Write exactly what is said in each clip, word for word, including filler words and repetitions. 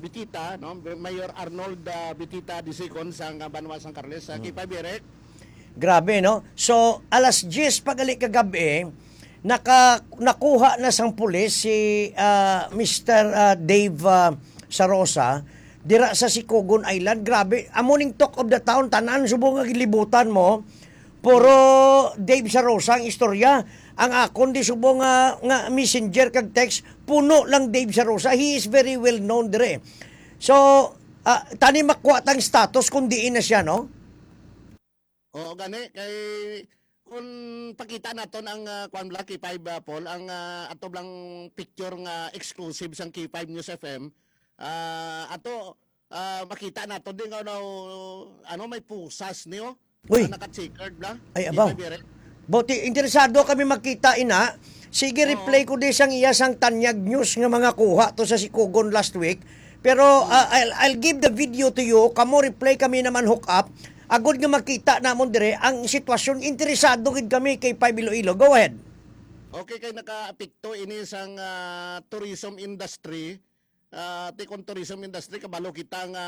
Bitita, no? Mayor Arnold, ah, Bitita the second sa, ah, Banwa San Carles, sa Mm. K five Eric. Grabe, no? So, alas diyes pa gali kagabi, naka-, nakuha na sang pulis si, ah, Mister, ah, Dave, ah, Sarosa dira sa Sicogon Island. Grabe, amo ning talk of the town, tanan subong nga gilibutan mo. Puro Dave Sarosa ang istorya. Ang akon di subong nga, nga messenger kag text, puno lang Dave Sarosa. He is very well known dire. So, ah, tani makuha tang status kung diin na siya, no? Oo, gani, kay kung pakita naton ang, ah, kwan bala, K five, ah, Paul, ang, ah, ato lang picture nga exclusive sang K five News F M, ah, ato, ah, makita naton din nga, ano, ano, may pusas niyo. Uy. Ah, naka-checkered bala. Ay, abaw. K five Eric. Boti, interesado kami makita ina. Sige, Oo. Replay ko di sang iya sang Tanyag News nga mga kuha to sa Sicogon last week. Pero, ah, I'll, I'll give the video to you. Kamo replay kami naman hook up. Agod nga makita namon dire ang sitwasyon. Interesado gid kami kay Five Iloilo. Go ahead. Okay, kay nakaapekto ini sang, ah, tourism industry. Ah, ti kon tourism industry, kabalo kita nga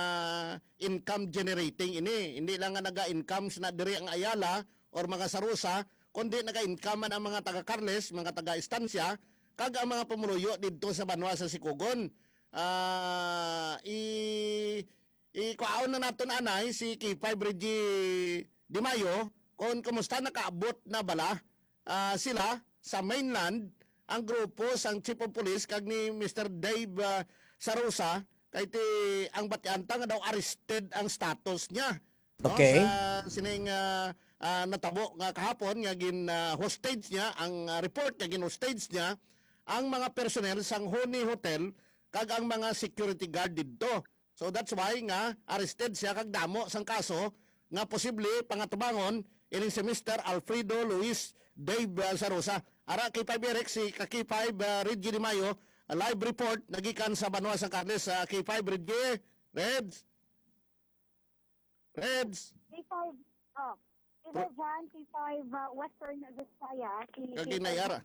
income generating ini. Hindi lang nga naga-income na diri ang Ayala or mga Sarosa, kundi naga-income man ang mga taga Carles, mga taga Estancia, kag ang mga pumuluyo didto sa banwa sa Sicogon. Ah, i-, ikuhaon na naton anay si K five Reggie Di Mayo kung kumusta, nakaabot na bala, ah, sila sa mainland ang grupo sang Chief of Police kag ni Mister Dave, ah, Sarosa, kay ti ang batian ta nga daw arrested ang status niya, no? Okay. Sa sining, ah, ah, natabo nga kahapon nga gin, ah, hostage niya, ang, ah, report nga gin hostage niya ang mga personnel sang Honey Hotel kag ang mga security guard didto. So that's why nga arrested siya kag damo sang kaso nga posible pangatubangon ining si Mister Alfredo Luis Dave, uh, Sarosa. Ara, K five Eric, si ka K five, uh, Reggie Di Mayo, a live report nagikan sa banwa sang Carles. Uh, K five Reggie, Reds. Reds. K five, oh, K five Pro- Jan, K five, uh, Western Visayas, si Kagi K five Nayara.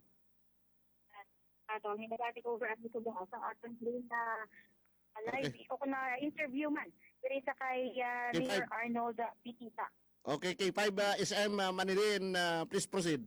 Ato, may nag-take over ang ito sa aton din na live. Okay. O kung na-interview man, diri sa kay, ah, Kay Mayor five. Arnold, ah, Bitita. Okay, K five, ah, S M, ah, Manilin, ah, please proceed.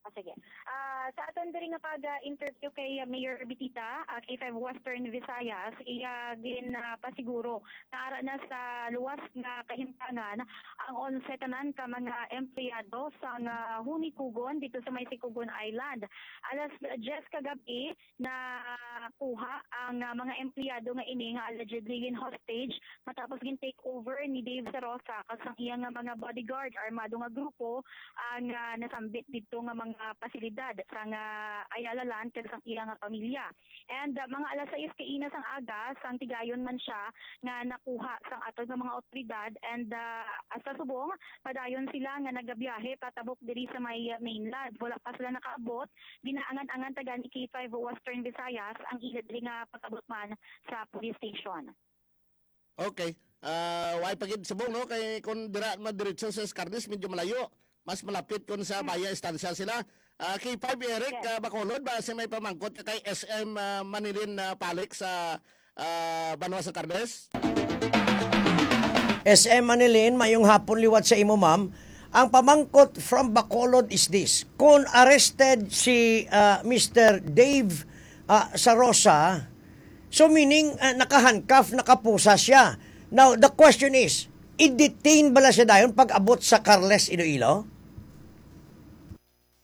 Ah, sige. Ah, sa aton diri nga pag-interview kay, ah, Mayor Bitita, ah, K five Western Visayas, iya gin, ah, pasiguro na ara na sa luwas nga kahimtangan ang onse tanan ka mga empleyado sa nga Honey Kugon dito sa may Sicogon Island. Alas diyes kagabi, nakuha ang, ah, mga empleyado nga ini nga allegedly gin hostage matapos gin take over ni Dave Sarosa kag sang iya nga mga bodyguard, armado nga grupo ang, ah, nasambit didto nga mga pasilidad sang, ah, Ayala Land kag sang iya nga pamilya. And, ah, mga alas sais kaina sang aga, sang tigayon man siya nga nakuha sang aton nga mga awtoridad. And, ah, sa subong, padayon sila nga nagabiyahe patabok diri sa may, ah, mainland. Wala pa sila nakaabot. Ginaangan-angan ta gani K five Western Visayas ang ila diri nga pag-abot man sa police station. Okay. Ah, way pa gid subong, no? Kay kung dira madiretso sa Escarnes, medyo malayo. Mas malapit kung sa Hmm. Baya Estancia sila. Ah, K five Eric, Yes. ah, Bacolod, ba si may pamangkot ka kay S M, ah, Manilin, ah, Palik sa, ah, Banwa sa Carnes? S M Manilin, mayong hapon liwat sa imo, ma'am. Ang pamangkot from Bacolod is this. Kung arrested si, ah, Mister Dave, ah, Sarosa, so meaning, ah, naka-handcuff, nakapusa siya. Now, the question is, i-detain bala siya dayon pag abot sa Carles, Iloilo?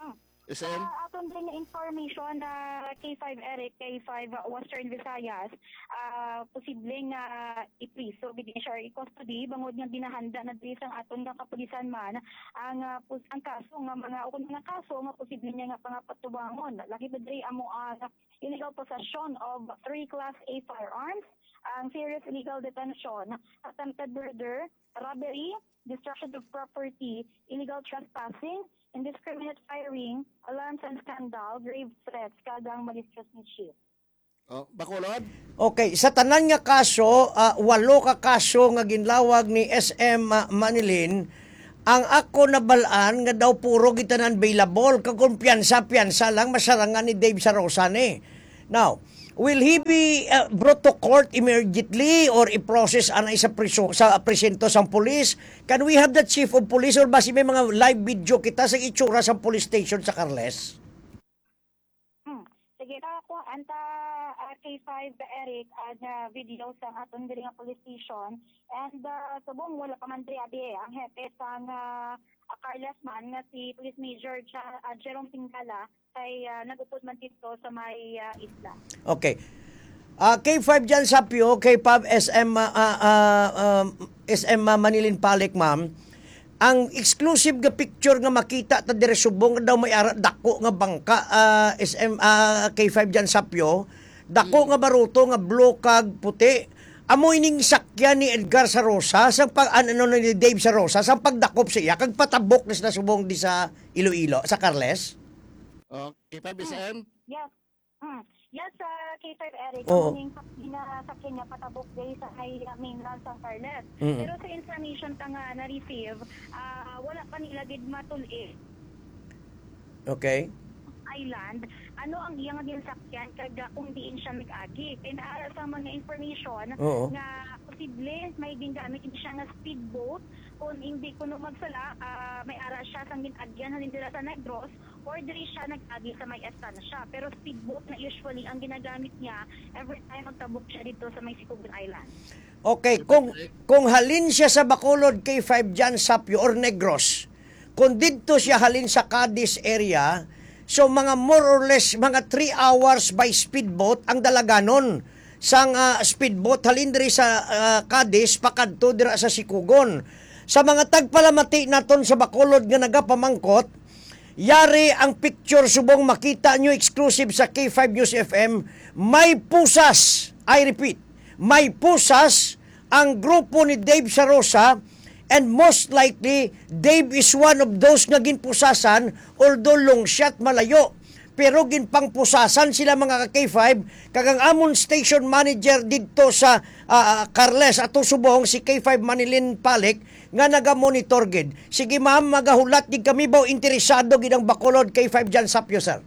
Hmm. S M? Sa aton din nga information, ah, K five Eric, K five Western Visayas, ah, posibleng, ah, ipriso gid siya or i-custody bangod nga ginahanda na diri sang aton nga kapulisan man ang, ah, pus-, ang kaso nga mga, o kung mga kaso nga posible niya nga pangapatubangon. Lakip na diri amo ang illegal possession of three Class A firearms, ang serious illegal detention, attempted murder, robbery, destruction of property, illegal trespassing, indiscriminate firing, alarms and scandal, grave threats, kag ang malicious mischief. Oh, Bacolod? Okay, sa tanan nga kaso, ah, walo ka kaso nga ginlawag ni S M, ah, Manilin, ang ako nabal-an nga daw puro gid tanan bailable, kag kung piyansa, piyansa lang, masarangan ni Dave Sarosa ni. Now, Will he be uh, brought to court immediately or i-process anay sa priso, sa presinto sang pulis? Can we have the chief of police or basi may mga live video kita sa itsura sa police station sa Carles? Hmm. Sige, ta ko anta ah, K five Eric ang ah, video sa aton diri nga police station. And ah, subong wala pa man diri abi eh, ang hepe sang ah, Carles man nga si Police Major Ja- ah, Jerome Singala kay ah, nagupod man dito sa may ah, isla. Okay. Ah, K five Jan Sapio, K five S M, ah, ah, ah, um, S M ah, Manilin Palik, ma'am. Ang exclusive nga picture nga makita ta dire subong nga daw may ara dako nga bangka, ah, S M, ah, K five Jan Sapio, dako nga baruto nga blue kag puti. Amo ining sakyan ni Edgar Sarosa sa pag an- ano ni Dave Sarosa sa pagdakop sa iya kag patabok na sila subong di sa Iloilo, sa Carles. Oh, K five S M? Yes. Hmm. Yes, sa K five Eric, Oo. Ang ning sakyan nga patabok day sa may uh, mainland sa Carles. Mm. Pero sa information ta nga na-receive, ah, wala pa nila gid matulid Okay. Island, ano ang iya nga ginsakyan kag ah, kung diin siya nag-agi. Kay naa sa mga information Oo. nga posible may gingamit gid siya nga speedboat kung hindi kuno magsala ah, may ara siya sang gin-agyan halin dira sa Negros or diri siya nag-agi sa may estansya. Pero speedboat na usually ang ginagamit niya every time magtabok siya dito sa may Sicogon Island. Okay, kung kung halin siya sa Bacolod K five Jan Sapio or Negros, kung didto siya halin sa Cadiz area, so mga more or less mga three hours by speedboat ang dalaganon sang ah, speedboat halin diri sa ah, Cadiz pakadto dira sa Sicogon. Sa mga tagpalamati naton sa Bacolod nga nagapamangkot, yari ang picture subong makita nyo exclusive sa K five News F M, may pusas, I repeat, may pusas ang grupo ni Dave Sarosa, and most likely Dave is one of those nga ginpusasan, although long shot malayo. Pero ginpangpusasan sila, mga ka K five, kag ang amon station manager didto sa ah, Carles ato subong, si K five Manilin Palik, nga naga-monitor gid. Sige ma'am, magahulat gid kami ba, interesado gid ang Bacolod K five Jan Sapyo, sir.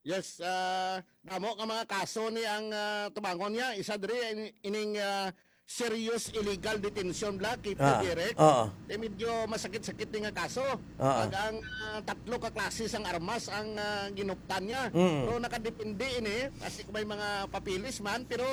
Yes, ah, damo ka mga kaso ni ang ah, tubangon niya. Isa diri in- ining ah, serious illegal detention bla kay Ah, Direk. oo. Eh, medyo masakit-sakit ni nga kaso. Ah. Pag ang ah, tatlo ka klase sang armas ang ah, ginuptan niya. Mm. Pero nakadepende ini kasi kung may mga papilis man, pero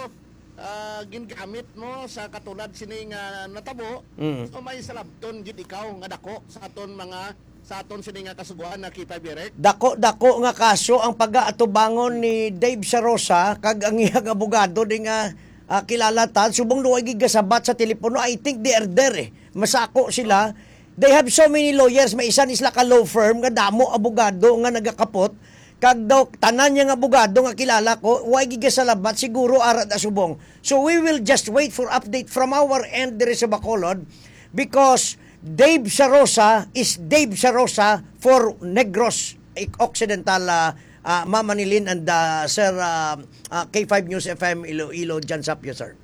ah, gingamit mo sa katulad sini nga natabo. Mm. So may salabton gid ikaw nga dako sa aton mga sa aton sini nga kasugoan na K five Direk. Dako-dako nga kaso ang pagaatubangon ni Dave Sarosa kag ang iyang abogado di nga ah, kilala ta, subong luway gigasabat sa telepono. I think they are there eh. Masako sila. They have so many lawyers, may isa ni sila ka law firm nga damo abogado nga nagakapot. Kag daw tanan niya nga abogado nga kilala ko, way gigasalabat siguro ara da subong. So we will just wait for update from our end diri sa Bacolod because Dave Sarosa is Dave Sarosa for Negros Occidental, ah, ah, Mama Nilin and ah, Sir ah, ah, K five News F M Iloilo, Jan Sapyo, sir.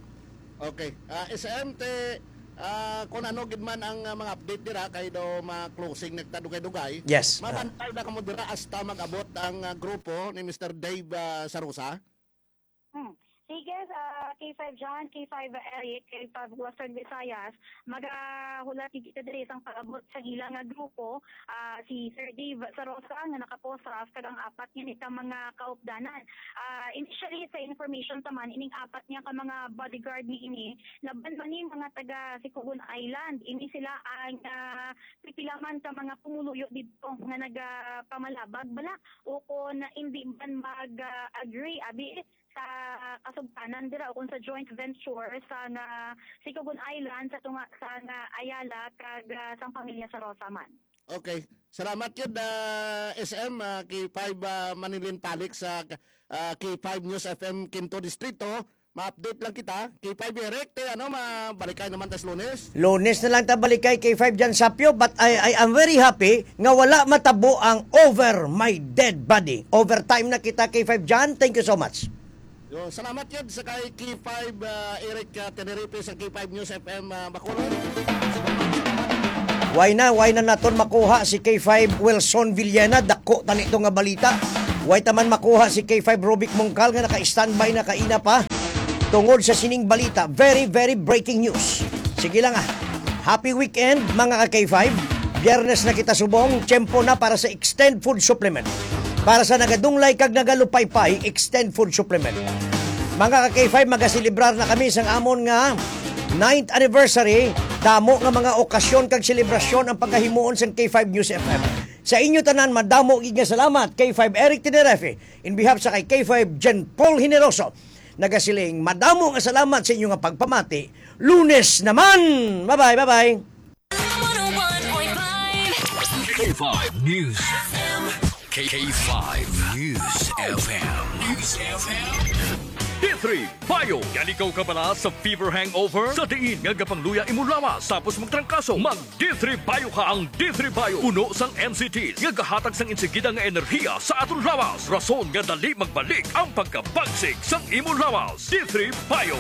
Okay. Ah, S M te ah, kung ano gid man ang ah, mga update dira kay daw ma-closing nagta dugay-dugay. Yes. Ah. Mabantay na kamo dira hasta mag-abot ang ah, grupo ni Mister Dave ah, Sarosa. Hmm. Sige, sa K five John, K five Eric, K five Western Visayas, magahulat gid kita diri sang pag-abot sa ila nga grupo, ah, si Sir Dave Sarosa nga naka-posraf kag ang apat nga nika mga kaupdanan. Ah, initially sa information taman ining apat nga ka mga bodyguard ni ini laban man ni mga taga Sicogon Island. Ini sila ang ah, pipila man ka mga pumuluyo didto nga nagapamalabag bala o kon hindi man mag-agree abi sa kasugtanan dira o kung sa joint venture sa nga Sicogon Island sa tunga sa nga Ayala kag ah, sang pamilya Sarosa man. Okay. Salamat yun, ah, S M, ah, K five ah, Manilin Palik sa ah, K five News F M Quinto Distrito. Ma-update lang kita. K five Eric, te, ano, mabalikay naman tas Lunes. Lunes na lang ta balikay K five Jan Sapyo, but I, I am very happy nga wala matabo ang over my dead body. Overtime na kita K five Jan. Thank you so much. Yo, salamat yun sa kay K five ah, Eric ah, Tenerife sa K five News F M ah, Bacolod. Why na, why na naton makuha si K five Wilson Villena? Dako tani to nga balita. Way ta man makuha si K five Rubik Mungkal nga naka-standby na kaina pa tungod sa sining balita. Very, very breaking news. Sige lang, ah. Happy weekend, mga ka K five. Biyernes na kita subong, tiyempo na para sa Extend Food Supplement. Para sa nagadunglay kag nagalupaypay, Extend Food Supplement. Mga ka K five, magaselebrar na kami sang amon nga ninth anniversary. Damo nga mga okasyon kag selebrasyon ang pagahimuon sang K five News F M. Sa inyo tanan, madamo gid nga salamat. K five Eric Tenerife, in behalf sa kay K five Jen Paul Generoso, nagasiling, madamo nga salamat sa inyo nga pagpamati. Lunes naman! Bye-bye, bye-bye! K five News F M. K five News F M. News F M. D three Bio. Yan ikaw kabala sa fever hangover? Sa diin nga gapangluya imo lawas tapos magtrangkaso, mag D three Bio ka. Ang D three Bio puno sang N C T nga gahatag sang insigida nga enerhiya sa aton lawas, rason nga dali magbalik ang pagkabagsik sang imo lawas. D three Bio.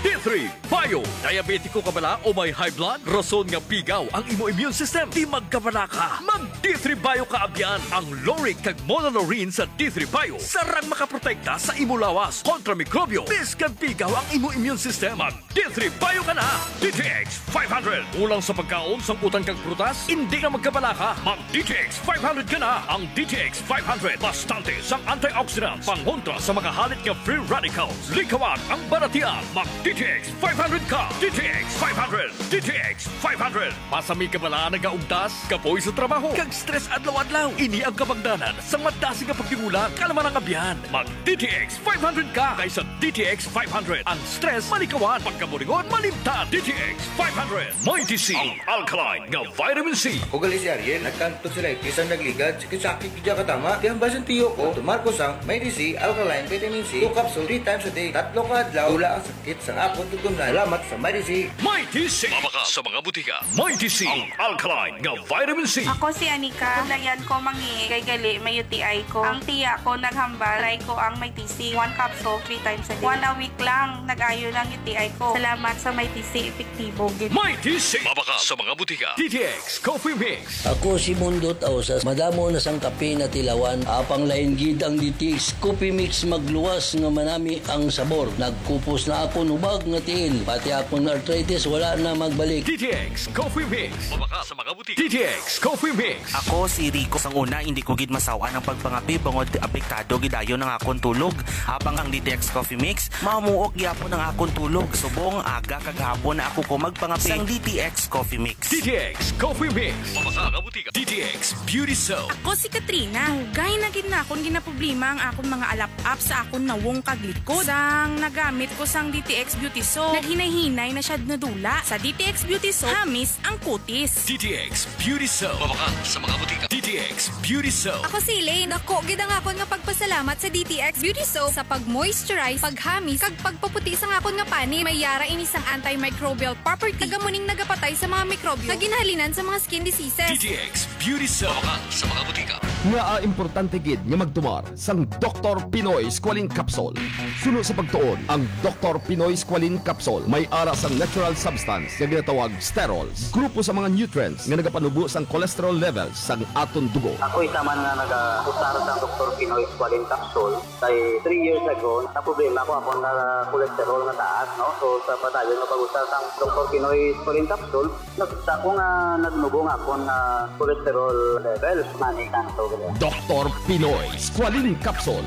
D three Bio. Diabetiko ka bala o may high blood? Rason nga pigaw ang imo immune system. Di magkabala ka. Mag D three Bio ka abyan. Ang lauric kag monolaurin sa D three Bio sarang makaprotekta sa imo lawas kontra mikrobyo, biskan pigaw ang imo immune system. Mag D three Bio ka na. D T X five hundred. Kulang sa pagkaon, sangkutan kag prutas? Indi na magkabala ka. Mag D T X five hundred ka na. Ang D T X five hundred bastante sang antioxidants pangontra sa mga halit nga free radicals. Likawan ang balatian. Mag D T X five hundred ka. D T X five hundred. D T X five hundred. Pasami ka bala nagaugtas, kapoy sa trabaho, kag stress adlaw-adlaw? Ini ang kabangdanan sang madasig nga pagtigulang. Kalma lang, abyan. Mag D T X five hundred ka, kay sa D T X five hundred, ang stress malikawan, pagkaburingon malimtan. D T X five hundred. Mighty C, ang alkaline nga vitamin C. Ako gali si Ariel, nagkanto sila, isang nagligad, sakit-sakit, di ka tama. Kaya ang basang tiyo ko, tumar ko sang Mighty C, alkaline vitamin C, two capsule, three times a day, tatlo ka adlaw, wala ang sakit sang akon tutunlan. Salamat sa Mighty C. Mighty C. Mabakal sa mga butika. Mighty C, ang alkaline nga vitamin C. Ako si Anika. Kulayan ko mangi kay gali may U T I ko. Ang tiya ko naghambal, try ko ang Mighty C. One capsule, three times a day. One a week lang, nag-ayo lang U T I ko. Salamat sa Mighty C, epektibo gid. Mighty C. Mabakal sa mga butika. D T X Coffee Mix. Ako si Mundot Ausas. Madamo na sang kape natilawan. Apang lain gid ang D T X Coffee Mix, magluwas nga manami ang sabor. Nagkupos na akon hubag nga tiil. Pati akon arthritis wala na magbalik. D T X Coffee Mix. Mabakal sa mga butika. D T X Coffee Mix. Ako si Rico. Sang una, hindi ko gid masaw-an ang pagpangape bangod apektado gid dayon ang akon tulog. Habang ang D T X Coffee Mix, mamuok gyapon ang akon tulog. Subong aga kag hapon na ako ko magpangape sang D T X Coffee Mix. D T X Coffee Mix. Mabakal sa mga butika. D T X Beauty Soap. Ako si Katrina. Dugay na gid na akon ginaproblema ang akon mga alap-ap sa akon nawong kag likod. Sang nagamit ko sang D T X Beauty Soap, naghinay-hinay na siya nadula. Sa D T X Beauty Soap, hamis ang kutis. D T X Beauty Soap. Mabakal sa mga butika. D T X Beauty Soap. Ako si Elaine. Dako gid ang akon nga pagpasalamat sa D T X Beauty Soap sa pag-moisturize, paghamis, kag pagpaputi sang akon nga panit. May yara ini sang antimicrobial property, kag amo ning nagapatay sa mga mikrobyo nga ginahalinan sa mga skin diseases. D T X Beauty Soap. Mabakal sa mga butika. Ngaa importante gid nga magtumar sang Doktor Pinoy Squalene Capsule? Suno sa pagtuon, ang Doktor Pinoy Squalene Capsule may ara sang natural substance nga ginatawag sterols, grupo sa mga nutrients nga nagapanubo sang cholesterol levels sang aton dugo. Ako isa man nga nagausar sang Doktor Pinoy Squalene Capsule. Kay three years ago, naproblema ko akon nga cholesterol nga taas, no? So, sa padayon nga pag-usar sang Doktor Pinoy Squalene Capsule, nakita ko nga nagnubo nga akon nga cholesterol level. Mani kanto gid. Doktor Pinoy Squalene Capsule.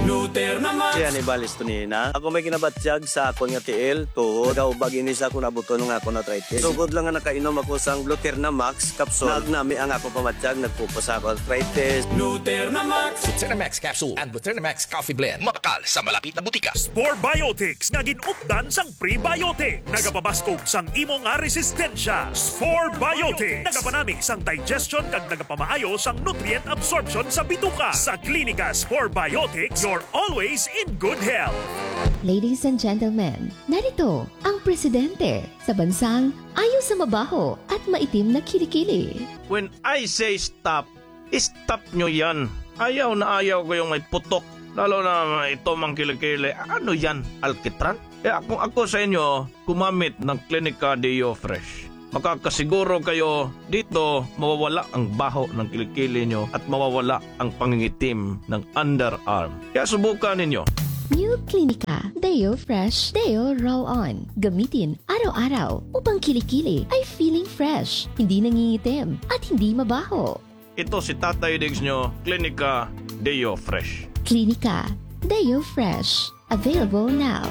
Luter na Max. Si Hannibal Estonina. Ako may ginabatyag sa akon nga tiil, tuhod. Nagaubag ini sa akon abuton nga akon arthritis. Sugod lang nga nakainom ako sang Luter na Max capsule, nagnami ang akon pamatyag, nagpupos sa akon arthritis. Luter na Max. Luter na Max capsule and Luter na Max coffee blend. Mabakal sa malapit na butika. Spore Biotics nga gin-updan sang prebiotic. Nagapabaskog sang imo nga resistensya. Spore Biotics. Nagapanami sang digestion kag nagapamaayo sang nutrient absorption sa bituka. Sa Klinika Spore Biotics, you're always in good health. Ladies and gentlemen, narito ang presidente sa bansang ayo sa mabaho at maitim na kilikili. When I say stop, stop nyo yan. Ayaw na ayaw ko yung may putok. Lalo na ito mang kilikili. Ano yan? Alkitran? Kaya kung ako sa inyo, gumamit ng Clinica Deo Fresh. Makakasiguro kayo dito mawawala ang baho ng kilikili nyo at mawawala ang pangingitim ng underarm. Kaya subukan ninyo. New Clinica Deo Fresh Deo Roll On. Gamitin araw-araw upang kilikili ay feeling fresh, hindi nangingitim, at hindi mabaho. Ito si Tatay Diggs nyo, Klinika Deo Fresh. Klinika Deo Fresh. Available now.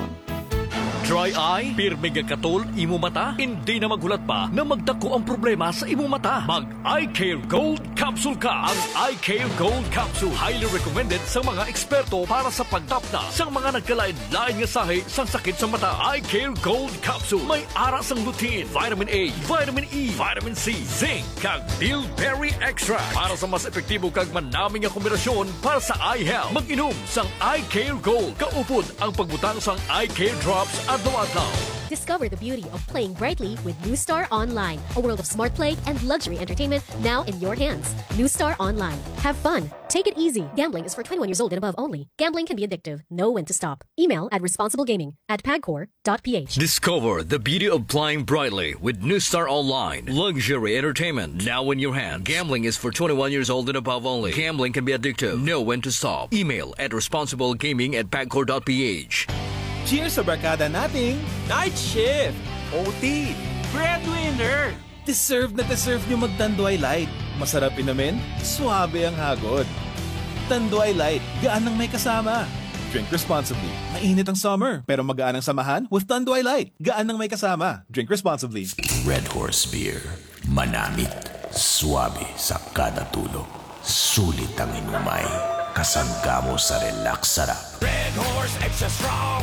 Dry eye? Pirmi nga katol imo mata? Hindi na maghulat pa na magdako ang problema sa imo mata. Mag Eye Care Gold Capsule ka. Ang Eye Care Gold Capsule highly recommended sa mga eksperto para sa pagtapna sa mga nagkalain-lain nga sahi sang sakit sa mata. Eye Care Gold Capsule may ara sang lutein, vitamin A, vitamin E, vitamin C, zinc, kag bilberry extract para sa mas epektibo kag manami nga kombinasyon para sa eye health. Mag-inom sang Eye Care Gold. Kaupod ang pagbutang sang Eye Care Drops adlaw-adlaw. Discover the beauty of playing brightly with New Star Online, a world of smart play and luxury entertainment now in your hands. New Star Online. Have fun. Take it easy. Gambling is for twenty-one years old and above only. Gambling can be addictive. Know when to stop. Email at responsiblegaming at pagcor.ph. Discover the beauty of playing brightly with New Star Online. Luxury entertainment now in your hand. Gambling is for twenty-one years old and above only. Gambling can be addictive. Know when to stop. Email at responsiblegaming at pagcor.ph. Cheers sa barkada nating Night Shift, O T, Breadwinner. Deserve na deserve nyo mag Tanduay Light. Masarap inumin, suabe ang hagod. Tanduay Light, gaan ang may kasama. Drink responsibly. Mainit ang summer, pero magaan ang samahan with Tanduay Light. Gaan ang may kasama. Drink responsibly. Red Horse Beer. Manamit, suabe sa kada tulo. Sulit ang inumay. Kasangga mo sa relax sarap. Red Horse Extra Strong,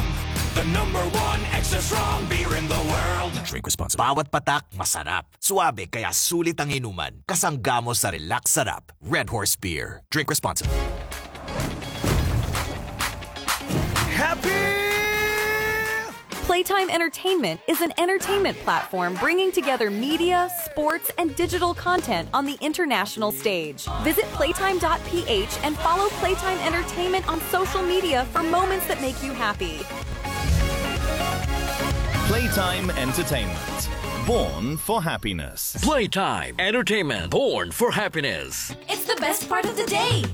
the number one extra strong beer in the world. Drink responsibly. Bawat patak, masarap. Suabe, kaya sulit ang inuman. Kasangga mo sa relax sarap. Red Horse Beer. Drink responsibly. Happy! Playtime Entertainment is an entertainment platform bringing together media, sports, and digital content on the international stage. Visit playtime dot p h and follow Playtime Entertainment on social media for moments that make you happy. Playtime Entertainment. Born for happiness. Playtime Entertainment. Born for happiness. It's the best part of the day.